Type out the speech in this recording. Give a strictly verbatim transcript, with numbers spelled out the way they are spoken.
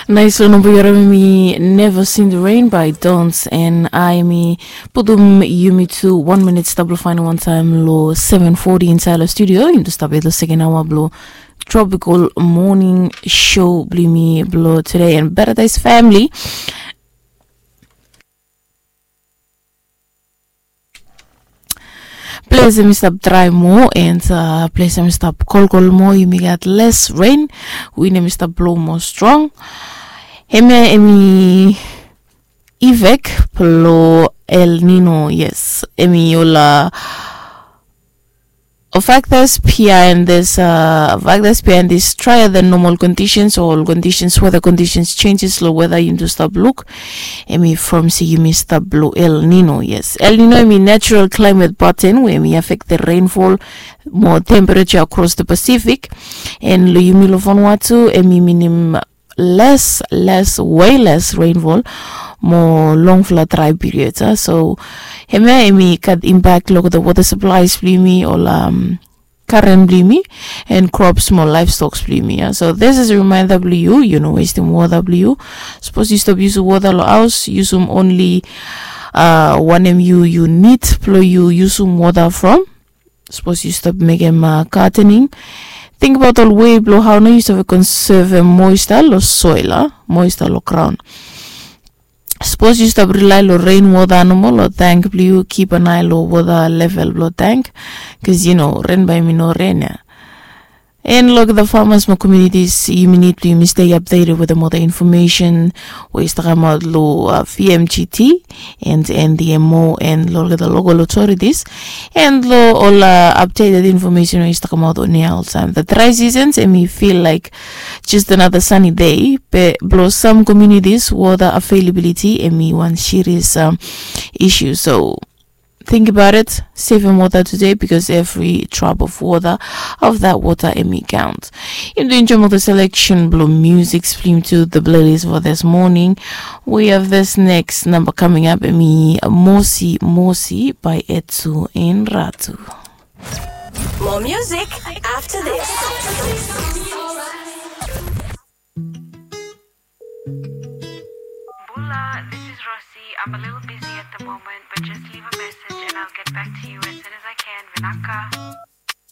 Nais long namba yu harim hemi Never Seen the Rain by Dons, and hemi putum yumi tu wan minit stap long faenem wantaem long seven forty insaed long studio. Yumi tu stap yet long seken aoa blong Tropical Morning Show blong yumi blong tude, and Paradise Family. Ples hemi stap drae moa, and ples hemi stap kolkol moa, yumi gat les ren, win hemi stap blo moa strong. Hemia hemi effect blo El Nino, yes, hemi ol factors behind this, factors behind this drier than normal conditions, o ol conditions, weather conditions changes lo weather yumi tu stap luk. Hemi from se yumi stap blo El Nino, yes. El Nino hemi natural climate pattern we hemi affect the rainfall mo temperature across the Pacific. And lo yumi lo Vanuatu hemi minim les, les, way les rainfall mo longfala dry period, a. So hemia hemi gat impact lo the water supplies blo yumi, ol current blo yumi, and crops mo livestocks blo yumi, a. So this is a reminder blo yu, yu no westem water blo yu. Sapos yu stap yusum water lo haos, yusum only wanem yu, yu nid blo yu yusum water from. Sapos yu stap mekem gardening, tingbaot ol wei blo hao nao yu save konsevem moisture lo soil, a, moisture lo graon. Sapos yu stap rilae lo ren wota nomo lo tank blo yu, kip an ae lo wota level blo tank, bikos yu no, ren bae hemi no ren ia. And lo the farmers mo communities, yumi nid blo yumi stay updated wetem ol the information we i stap kamaot lo V M G T and N D M O and lo the local authorities, and lo ol updated information we i stap kamaot on air oltaem. The dry seasons hemi feel like just another sunny day, be blo some communities water availability hemi wan serious issue. So think about it, sevem water today, because every drop of water, of that water hemi count. Yumi tu enjoem ol the selection blo music blo yumi tu the playlist for this morning. We have this next number coming up, hemi Mosi Mosi by Etsu and Ratu. More music after this. Bula, this is Rosie. I'm a little busy at the moment, but just leave a message and I'll get back to you as soon as I can. Vinaka.